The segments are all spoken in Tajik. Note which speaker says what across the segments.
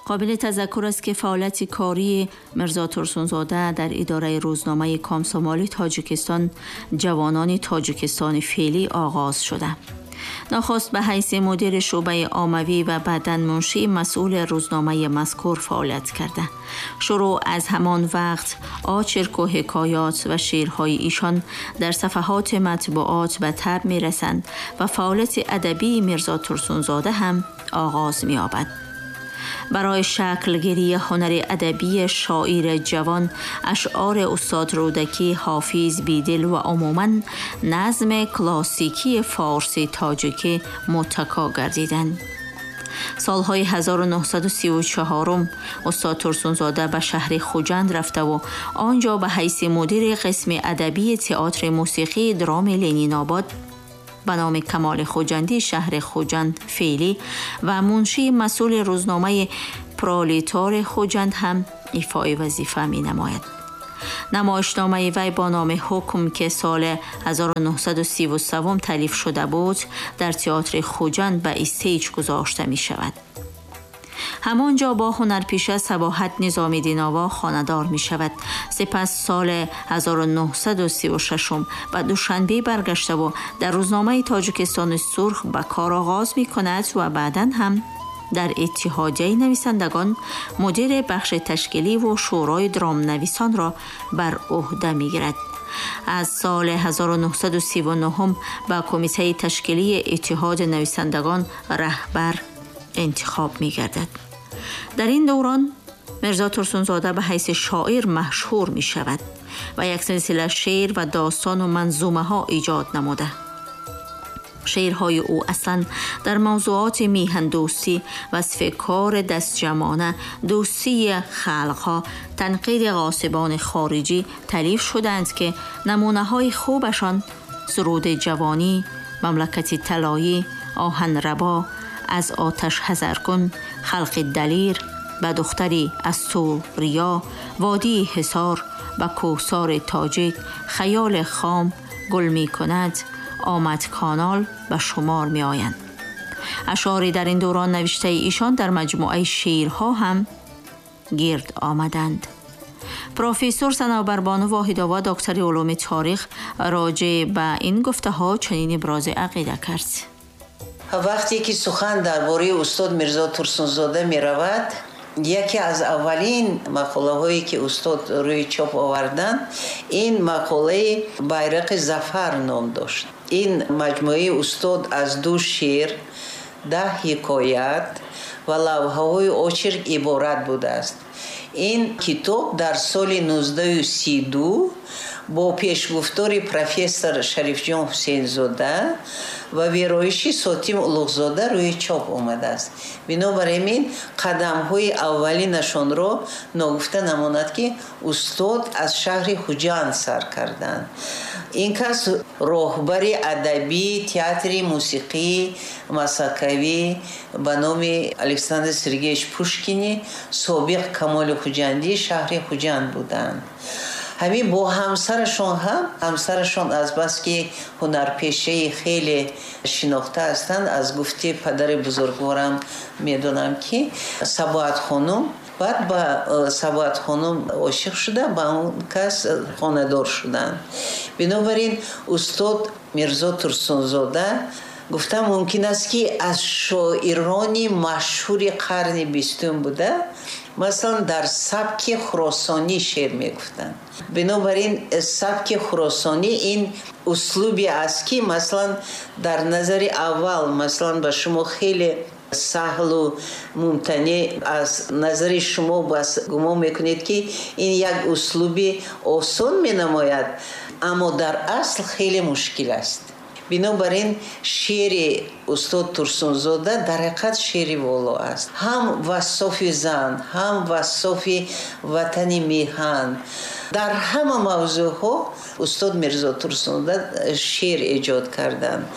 Speaker 1: قابل تذکر است که فعالیت کاری میرزا ترسونزاده در اداره روزنامه کامسومالی تاجیکستان جوانان تاجیکستان فعلی آغاز شده. نخست به حیث مدیر شعبه عاموی و بعداً منشی مسئول روزنامه مذکور فعالیت کرده. شروع از همان وقت آچرک و حکایات و شعرهای ایشان در صفحات مطبوعات به طبع می‌رسند و فعالیت ادبی میرزا ترسونزاده هم آغاز می‌یابد. برای شکلگیری هنر ادبی شاعر جوان اشعار استاد رودکی، حافظ، بیدل و عموماً نظم کلاسیکی فارسی تاجیکی متکا گردیدند. سالهای 1934 استاد ترسونزاده به شهر خوجند رفته و آنجا به حیث مدیر قسم ادبی تئاتر موسیقی درام لنین آباد به نام کمال خوجندی شهر خوجند فعلی و منشی مسئول روزنامه پرولیتار خوجند هم ایفای وظیفه می نماید. نمایشنامه وی با نام حکم که سال 1933 تالیف شده بود در تئاتر خوجند به stage گذاشته می شود. همانجا با هنرپیشه صباحت نظامی دیناوا خانه‌دار می شود. سپس سال 1936 به دوشنبه برگشته و در روزنامه تاجیکستان سرخ به کار آغاز می کند و بعداً هم در اتحادیه نویسندگان مدیر بخش تشکیلی و شورای درام نویسان را بر عهده می گیرد. از سال 1939 به کمیته تشکیلی اتحاد نویسندگان رهبر انتخاب می گردد. در این دوران میرزا ترسونزاده به حیث شاعر مشهور می شود و یک سلسله شعر و داستان و منظومه ها ایجاد نموده. شعرهای او اصلا در موضوعات میهن دوستی، وصف کار دستجمعانه، دوستی خلقها، تنقید غاصبان خارجی تالیف شدند که نمونه های خوبشان سرود جوانی، مملکت طلایی، آهن ربا، از آتش حذر کن، خلق دلیر، به دختری از سوریا، وادی حصار، به کوهسار تاجیک، خیال خام، گل می کند، آمد کانال به شمار می آیند. اشعاری در این دوران نوشته ایشان در مجموعه شعرها هم گرد آمدند. پروفسور صنوبربانو واحدآوا دکتر علوم تاریخ راجع به این گفته ها چنین ابراز عقیده کرد:
Speaker 2: وقتی که سخن درباره استاد میرزا ترسونزاده می رود، یکی از اولین مقاله هایی که استاد روی چاپ آوردند این مقاله بیرق ظفر نام داشت. این مجموعه استاد از 2 شعر، 10 حکایت و لوحه‌های очерк عبارت بوده است. این کتاب در سال 1932 با پیشگفتار پروفسور شریفجان حسینزاده و ویرایش ساتیم اولوغزاده روی چاپ آمده است. بنابراین قدم‌های اولینشان را ناگفته نماند که استاد از شهر خوجند سر کردند. این کس راهبر ادبی، تئاتر، موسیقی مسکوی به نام الکساندر سرگیش پوشکینی سابق کمال خوجندی شهر خوجند بودند. همین با همسرشون هم، همسرشون از بس که هنرپیشه خیلی شناخته هستند، از گفته پدر بزرگوارم میدونم که صباحت خانم، بعد با صباحت خانم عاشق شده، با اون کس خانه‌دار شدن. بنابراین استاد میرزا ترسونزاده گفتم ممکن است که از شاعران مشهور قرن 20 بوده، مثلا در سبک خراسانی شعر میگفتند. بنابراین سبک خراسانی این اسلوبی است که مثلا در نظر اول مثلا به شما خیلی سهل و ممتنع از نظر شما بس گمان میکنید که این یک اسلوب آسان مینماید، اما در اصل خیلی مشکل است. بنابراین شعر استاد ترسونزاده در حقیقت شعر والا است، هم وصف زن، هم وصف وطن میهن، در همه موضوعها استاد میرزا ترسونزاده شعر ایجاد کردند.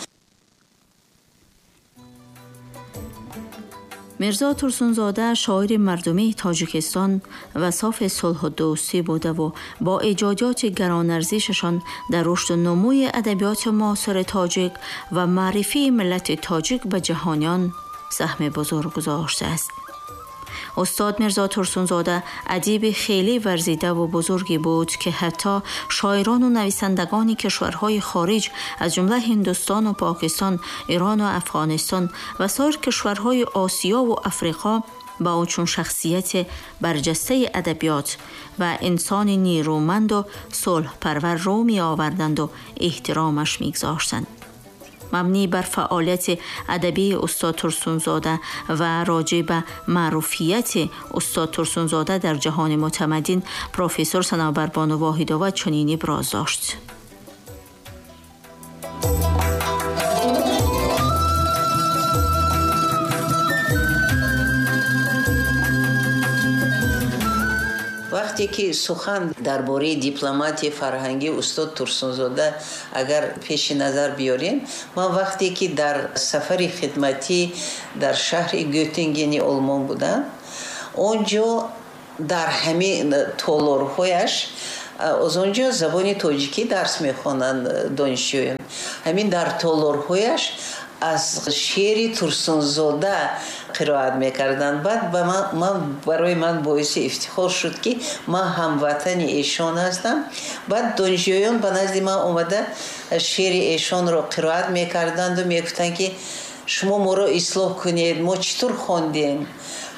Speaker 1: میرزا ترسونزاده شاعر مردمی تاجیکستان و صاف صلح و دوستی بوده و با ایجادات گرانارزششان در رشد و نموی ادبیات معاصر تاجیک و معرفی ملت تاجیک به جهانیان سهم بزرگ گذاشته است. Устод Мирзо Турсунзода адиби хеле варзида ва бузурге буд, ки ҳатто шоирону нависандагони кишварҳои хориҷ, аз ҷумла Ҳиндустону Покистон, Ирону Афғонистон ва соир кишварҳои Осиёву Африқо ба ӯ чун шахсияти барҷастаи адабиёт ва инсони нерӯманду сулҳпарвар рӯ меоварданду эҳтиромаш мегузоштанд. Мабнӣ бар фаъолияти адабии устод Турсунзода ва роҷеъ ба маъруфияти устод Турсунзода дар ҷаҳони мутамаддин, профессор Санобарбону Воҳидова чунин иброз дошт.
Speaker 2: Вақте ки сухан дар бораи дипломатияи фарҳангии устод Турсунзода агар пеши назар биёрем, ман вақте ки дар сафари хидматӣ дар шаҳри Гётингени Олмон будам, он ҷо дар ҳамин толорҳояш, аз он ҷо забони тоҷикӣ дарс мехонанд донишҷӯён, ҳамин дар толорҳояш аз шеъри Турсунзода қироат мекарданд. Баъд ба ман барои ман боиси ифтихор шуд, ки ман ҳамватани эшон ҳастам. Баъд донишҷӯён ба назди ман омада шеъри эшонро қироат мекарданду мегуфтанд, ки шумо моро ислоҳ кунед, мо чӣ тур хондем.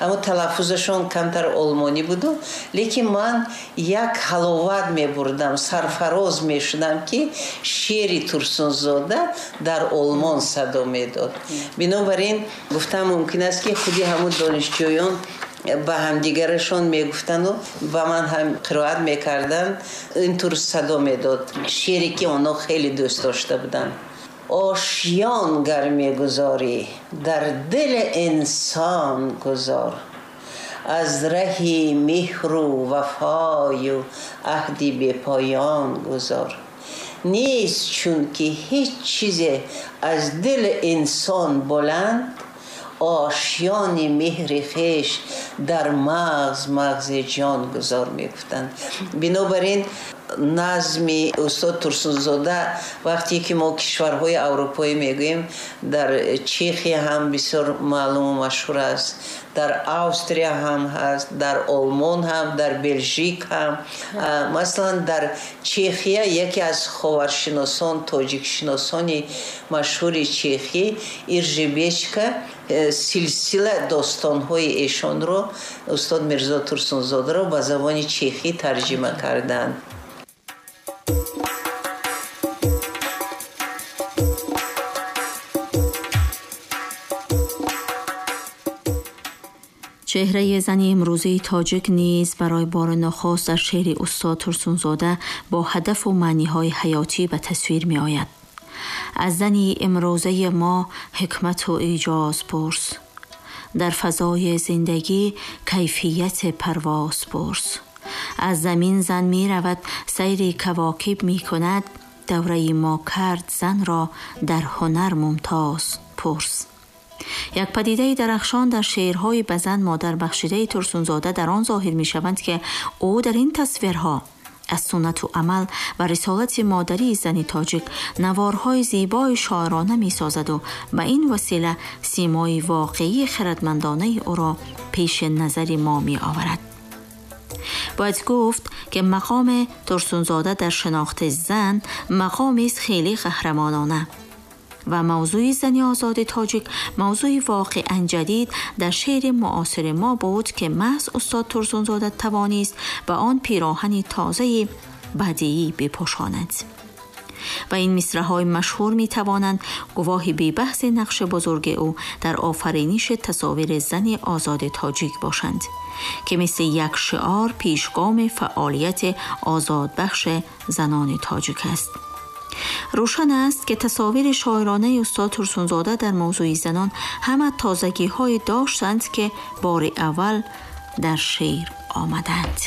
Speaker 2: Аммо талаффузашон камтар олмонӣ буду, лекин ман як ҳаловат мебурдам, сарфароз мешудам, ки шеъри Турсунзода дар Олмон садо медод. Бинобар ин гуфтан мумкин аст, ки худи ҳамун донишҷӯён ба ҳамдигарашон мегуфтанду ба ман ҳам қироат мекарданд, ин тур садо медод шеъре, ки онҳо хеле дӯст дошта буданд. Ошён гар мегузорӣ, дар дили инсон гузор, аз раҳи меҳру вафою аҳди бепоён гузор. Нест чунки ҳеҷ чизе аз дили инсон баланд, ошёни меҳри хеш дар мағз мағзи ҷон гузор, мегуфтанд. Бинобар ин назми устод Турсунзода вақте ки мо кишварҳои аврупоӣ мегӯем, дар Чехия ҳам бисёр маълуму машҳур аст, дар Австрия ҳам ҳаст, дар Олмон ҳам, дар Белжик ҳам. Масалан, дар Чехия яке аз ховаршиносон, тоҷикшиносони машҳури чехӣ Иржи Бечка силсила достонҳои эшонро, устод Мирзо Турсунзодаро, ба забони чехӣ тарҷима карданд.
Speaker 1: Чеҳраи зани имрӯзаи тоҷик низ барои бори нахуст дар шеъри устод Турсунзода бо ҳадафу маъниҳои ҳаётӣ ба тасвир меояд. Аз зани имрӯзаи мо ҳикмату эъҷоз пурс, дар фазои зиндагӣ кайфияти парвоз пурс. Аз замин зан меравад, сайри кавокиб мекунад, давраи мо кард занро дар ҳунар мумтоз пурс. Як падидаи дарахшон дар шеърҳои ба зан модар бахшидаи Турсунзода дар он зоҳир мешаванд, ки ӯ дар ин тасвирҳо аз суннату амал ва рисолати модарии зани тоҷик наворҳои зебои шоирона месозаду ба ин васила симои воқеии хирадмандонаи ӯро пеши назари мо меоварад. Бояд гуфт, ки мақоми Турсунзода дар шинохти зан мақомест хеле қаҳрамонона ва мавзӯи зани озоди тоҷик мавзӯи воқеан ҷадид дар шеъри муосири мо буд, ки маҳз устод Турсунзода тавонист ба он пироҳани тозаи бадеӣ бипӯшонад. Ва ин мисраҳои машҳур метавонанд гувоҳи бебаҳси нақши бузурги ӯ дар офариниши тасовири зани озоди тоҷик бошанд, ки мисли як шиор пешгоми фаъолияти озодбахши занони тоҷик аст. Рӯшан аст, ки тасовири шоиронаи устод Турсунзода дар мавзӯи занон ҳама тозагиҳое доштанд, ки бори аввал дар шеър омаданд.